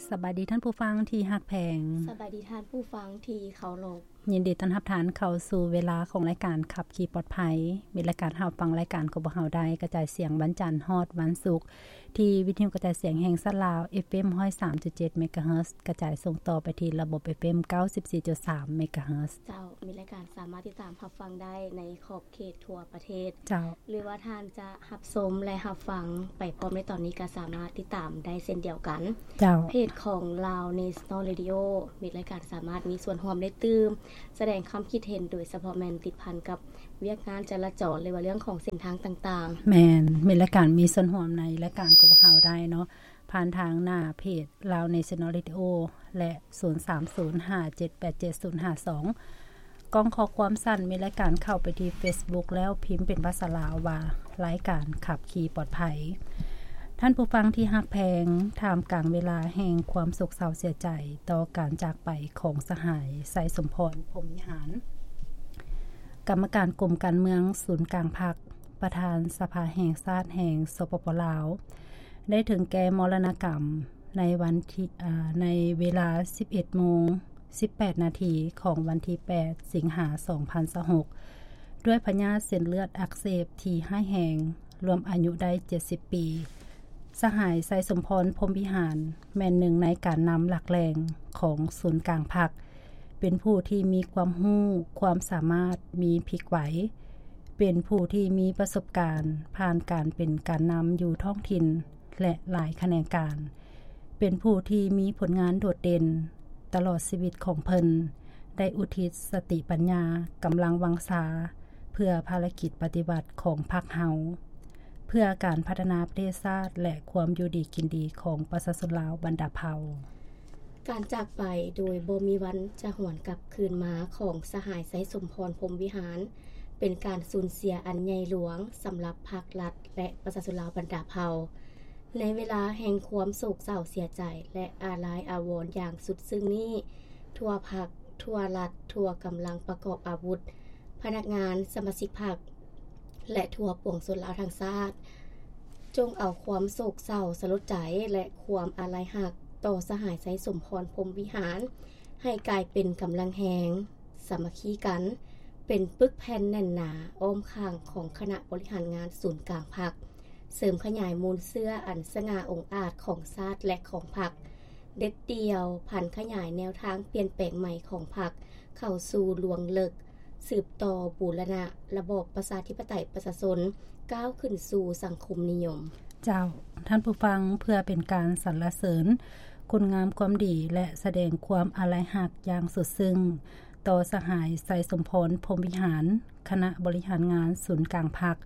ສະບາຍດີທ່ານຜູ້ຟັງທີ່ຮັກແພງ. ສະບາຍດີທ່ານຜູ້ຟັງທີ່ເຄົາລົບ. ຍິນດີຕ້ອນຮັບທ່ານເຂົ້າສູ່ເວລາຂອງລາຍການຂັບຂີ່ປອດໄພ. ມີລາຍການຮັບຟັງລາຍການຂອງພວກເຮົາໄດ້ກະຈາຍສຽງວັນຈັນຮອດວັນສຸກ ທີ່ວິທະຍຸກະຈາຍສຽງແຫ່ງຊາດລາວ ເອັຟເອັມ ຮ້ອຍສາມຈຸດເຈັດ ເມກາເຮີດ ກະຈາຍສົ່ງຕໍ່ໄປທີ່ລະບົບ ເອັຟເອັມ ເກົ້າສິບສີ່ຈຸດສາມ ເມກາເຮີດ. ເຈົ້າ, ມີລາຍການສາມາດຕິດຕາມຮັບຟັງໄດ້ໃນຂອບເຂດທົ່ວປະເທດ. ເຈົ້າ. ຫຼືວ່າທ່ານຈະຮັບຊົມ ແລະ ຮັບຟັງໄປພ້ອມໃນຕອນນີ້ ກໍສາມາດຕິດຕາມໄດ້ເຊັ່ນດຽວກັນ. ເຈົ້າ. ເພຈຂອງ Lao National Radio ມີລາຍການສາມາດມີສ່ວນຮ່ວມໄດ້ຕື່ມ ສະແດງຄວາມຄິດເຫັນ ໂດຍສະເພາະແມ່ນຕິດພັນກັບວຽກງານຈະລາຈອນ ຫຼືວ່າເລື່ອງຂອງເສັ້ນທາງຕ່າງໆ. ແມ່ນ, ມີລາຍການມີສ່ວນຮ່ວມໃນລາຍການຂອງພວກເຮົາໄດ້ເນາະ ຜ່ານທາງໜ້າເພຈ Lao National Radio ແລະ ສູນສາມສູນຫ້າເຈັດແປດເຈັດສູນຫ້າສອງ ກ່ອງຂໍ້ຄວາມສັ້ນ ມີລາຍການເຂົ້າໄປທີ່ Facebook ແລ້ວພິມເປັນພາສາລາວວ່າ ລາຍການຂັບຂີ່ປອດໄພ. ທ່ານຜູ້ຟັງທີ່ຮັກແພງ, ທ່າມກາງເວລາແຫ່ງຄວາມໂສກເສົ້າເສຍໃຈຕໍ່ການຈາກໄປຂອງສະຫາຍ ໄຊສົມພອນ ພົມວິຫານ ກຳມະການກົມການເມືອງສູນກາງພັກ, ປະທານສະພາແຫ່ງຊາດແຫ່ງ ສປປ ລາວ ໄດ້ເຖິງແກ່ມໍລະນະກຳໃນວັນທີ ອາ ໃນເວລາສິບເອັດໂມງສິບແປດນາທີຂອງວັນທີແປດ ສິງຫາ ສອງພັນຊາວຫົກ ດ້ວຍພະຍາດເສັ້ນເລືອດອັກເສບທີ່ຮ້າຍແຮງ, ລວມອາຍຸໄດ້ເຈັດສິບປີ. ສະຫາຍ ໄຊສົມພອນ ພົມວິຫານ ແມ່ນໜຶ່ງໃນການນຳຫຼັກແຫຼ່ງຂອງສູນກາງພັກ, ເປັນຜູ້ທີ່ມີຄວາມຮູ້, ຄວາມສາມາດ, ມີພລິກໄຫວ, ເປັນຜູ້ທີ່ມີປະສົບການຜ່ານການເປັນການນຳຢູ່ທ້ອງຖິ່ນ ແລະ ຫຼາຍຂະແໜງການ, ເປັນຜູ້ທີ່ມີຜົນງານໂດດເດັ່ນ. ຕະຫຼອດຊີວິດຂອງເພິ່ນ ໄດ້ອຸທິດສະຕິປັນຍາ, ກຳລັງວັງຊາ ເພື່ອພາລະກິດປະຕິວັດຂອງພັກເຮົາ, ເພື່ອການພັດທະນາປະເທດຊາດ ແລະ ຄວາມຢູ່ດີກິນດີຂອງປະຊາຊົນລາວບັນດາເຜົ່າ. ການຈາກໄປໂດຍບໍ່ມີວັນຈະຫວນກັບຄືນມາຂອງສະຫາຍ ໄຊສົມພອນ ພົມວິຫານ ເປັນການສູນເສຍອັນໃຫຍ່ຫຼວງສຳລັບພັກລັດ ແລະ ປະຊາຊົນລາວບັນດາເຜົ່າ. ໃນເວລາແຫ່ງຄວາມໂສກເສົ້າເສຍໃຈ ແລະ ອາລັຍອາວອນຢ່າງສຸດຊຶ້ງນີ້, ທົ່ວພັກ, ທົ່ວລັດ, ທົ່ວກຳລັງປະກອບອາວຸດ, ພະນັກງານ, ສະມາຊິກພັກ ແລະ ທົ່ວປວງຊົນລາວທັງຊາດ, ຈົ່ງເອົາຄວາມໂສກເສົ້າສະຫຼົດໃຈ ແລະ ຄວາມອາລັຍຮັກຕໍ່ສະຫາຍ ໄຊສົມພອນ ພົມວິຫານ ໃຫ້ກາຍເປັນກຳລັງແຮງ, ສາມັກຄີກັນ, ເປັນປຶກແຜ່ນແໜ້ນໜາອ້ອມຂ້າງຂອງຄະນະບໍລິຫານງານສູນກາງພັກ, ເສີມຂະຫຍາຍມູນເຊື້ອອັນສະຫງ່າອົງອາດຂອງຊາດ ແລະ ຂອງພັກ, ເດັດດ່ຽວຜັນຂະຫຍາຍແນວທາງປ່ຽນແປງໃໝ່ຂອງພັກເຂົ້າສູ່ລວງເລິກ, ສືບຕໍ່ບູລະນະລະບອບປະຊາທິປະໄຕປະຊາຊົນ, ກ້າວຂຶ້ນສູ່ສັງຄົມນິຍົມ. ເຈົ້າ, ທ່ານຜູ້ຟັງ, ເພື່ອເປັນການສັນລະເສີນຄຸນງາມຄວາມດີ ແລະ ສະແດງຄວາມອາລັຍຮັກຢ່າງສຸດຊຶ້ງຕໍ່ສະຫາຍ ໄຊສົມພອນ ພົມວິຫານ, ຄະນະບໍລິຫານງານສູນກາງພັກ,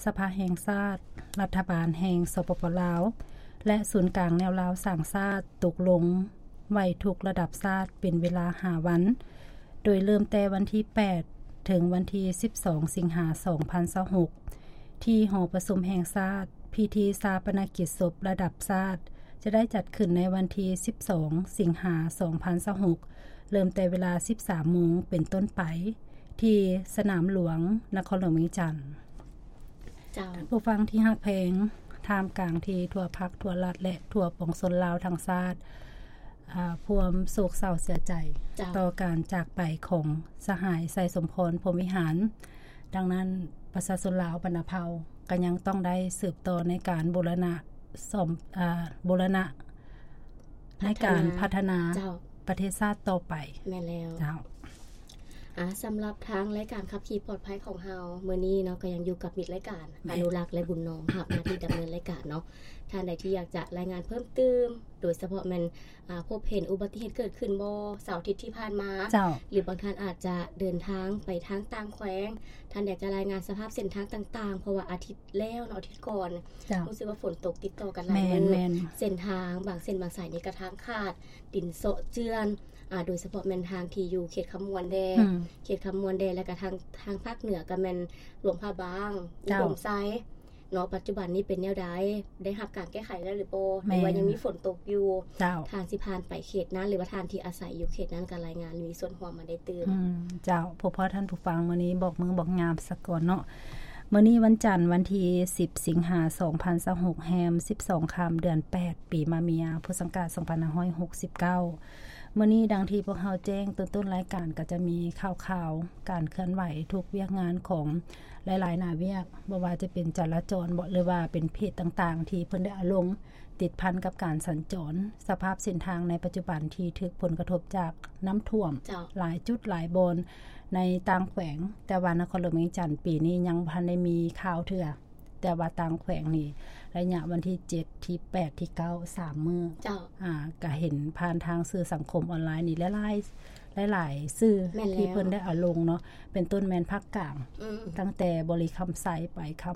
ສະພາແຫ່ງຊາດ, ລັດຖະບານແຫ່ງ ສປປ ລາວ ແລະ ສູນກາງແນວລາວສ້າງຊາດຕົກລົງໄວ້ທຸກລະດັບຊາດເປັນເວລາຫ້າວັນ, ໂດຍເລີ່ມແຕ່ວັນທີແປດ ເຖິງວັນທີສິບສອງ ສິງຫາ ສອງພັນຊາວຫົກ ທີ່ຫໍປະຊຸມແຫ່ງຊາດ. ພິທີຊາປະນະກິດສົບລະດັບຊາດຈະໄດ້ຈັດຂຶ້ນໃນວັນທີສິບສອງ ສິງຫາ ສອງພັນຊາວຫົກ ເລີ່ມແຕ່ເວລາສິບສາມໂມງເປັນຕົ້ນໄປ ທີ່ສະໜາມຫຼວງ ນະຄອນຫຼວງວຽງຈັນ. ເຈົ້າ. ຜູ້ຟັງທີ່ຮັກແພງ, ທ່າມກາງທີ່ທົ່ວພັກ, ທົ່ວລັດ ແລະ ທົ່ວປວງຊົນລາວທັງຊາດ ອາ ພວມໂສກເສົ້າເສຍໃຈ ເຈົ້າ ຕໍ່ການຈາກໄປຂອງສະຫາຍ ໄຊສົມພອນ ພົມວິຫານ. ດັ່ງນັ້ນ, ປະຊາຊົນລາວບັນດາເຜົ່າກໍຍັງຕ້ອງໄດ້ສືບຕໍ່ໃນການບູລະນະສ້ອມ ອາ ບູລະນະ ໃນການພັດທະນາ ພັດທະນາ ເຈົ້າ ປະເທດຊາດຕໍ່ໄປ. ແມ່ນແລ້ວ ເຈົ້າ. ອາ ສຳລັບທາງລາຍການຂັບຂີ່ປອດໄພຂອງເຮົາມື້ນີ້ເນາະ ກໍຍັງຢູ່ກັບມິດລາຍການ ແມ່ນ ອະນຸລັກ ແລະ ບຸນນອມ ຮັບໜ້າທີ່ດຳເນີນລາຍການເນາະ. ທ່ານໃດທີ່ຢາກຈະລາຍງານເພີ່ມຕື່ມ ໂດຍສະເພາະແມ່ນ ອາ ພົບເຫັນອຸບັດຕິເຫດເກີດຂຶ້ນບໍ່ເສົາອາທິດທີ່ຜ່ານມາ ເຈົ້າ ຫຼືບາງທ່ານອາດຈະເດີນທາງໄປທາງຕ່າງແຂວງ, ທ່ານຢາກຈະລາຍງານສະພາບເສັ້ນທາງຕ່າງໆ ເພາະວ່າອາທິດ ແລ້ວເນາະ ອາທິດກ່ອນ ເຈົ້າ ຮູ້ສຶກວ່າຝົນຕົກຕິດຕໍ່ກັນຫຼາຍມື້ ແມ່ນໆ ເສັ້ນທາງບາງເສັ້ນບາງສາຍນີ້ກະທາງຂາດ ດິນເຊາະເຈື່ອນ ອາ ໂດຍສະເພາະແມ່ນທາງທີ່ຢູ່ເຂດຄຳມ່ວນແດ່ ອືມ ເຂດຄຳມ່ວນແດ່ ແລ້ວກະທາງ ທາງພາກເໜືອກະແມ່ນຫຼວງພະບາງ ເຈົ້າ ອຸດົມໄຊເນາະ. ປັດຈຸບັນນີ້ເປັນແນວໃດ ໄດ້ຮັບການແກ້ໄຂແລ້ວຫຼືບໍ່ ແມ່ນ ຫຼືວ່າຍັງມີຝົນຕົກຢູ່ ເຈົ້າ ທ່ານຊິຜ່ານໄປເຂດນັ້ນ ຫຼືວ່າທ່ານທີ່ອາໄສຢູ່ເຂດນັ້ນກະລາຍງານ ມີສ່ວນຮ່ວມມາໄດ້ຕື່ມ ອືມ ເຈົ້າ. ເພາະ ເພາະທ່ານຜູ້ຟັງມື້ນີ້ບອກມື້ບອກຍາມສາກ່ອນເນາະ ມື້ນີ້ວັນຈັນ ວັນທີສິບ ສິງຫາ ສອງພັນຊາວຫົກ ແຮມສິບສອງຄ່ຳ ເດືອນແປດ ປີມະເມຍ ພຸດສັງກາດ ສອງພັນຫ້າຮ້ອຍຫົກສິບເກົ້າ. ມື້ນີ້ດັ່ງທີ່ພວກເຮົາແຈ້ງຕົ້ນໆລາຍການ ກໍຈະມີຂ່າວໆ ການເຄື່ອນໄຫວທຸກວຽກງານຂອງຫຼາຍໆໜ້າວຽກ ບໍ່ວ່າຈະເປັນຈະລາຈອນເບາະ ຫຼືວ່າເປັນເພຈຕ່າງໆ ທີ່ເພິ່ນໄດ້ເອົາລົງ ຕິດພັນກັບການສັນຈອນ ສະພາບເສັ້ນທາງໃນປັດຈຸບັນທີ່ຖືກຜົນກະທົບຈາກນ້ຳຖ້ວມ ເຈົ້າ ຫຼາຍຈຸດຫຼາຍບ່ອນໃນຕ່າງແຂວງ, ແຕ່ວ່ານະຄອນຫຼວງວຽງຈັນປີນີ້ຍັງບໍ່ທັນໄດ້ມີຂ່າວເທື່ອ, ແຕ່ວ່າຕ່າງແຂວງນີ້ ໄລຍະວັນທີເຈັດ ທີແປດ ທີເກົ້າ ສາມມື້ ເຈົ້າ ອ່າ ກະເຫັນຜ່ານທາງສື່ສັງຄົມອອນລາຍນີ້ ຫຼາຍໆ ຫຼາຍໆສື່ ແມ່ນແລ້ວ ທີ່ເພິ່ນໄດ້ເອົາລົງເນາະ, ເປັນຕົ້ນແມ່ນພາກກາງ ອືມ ຕັ້ງແຕ່ບໍລິຄຳໄຊໄປຄຳ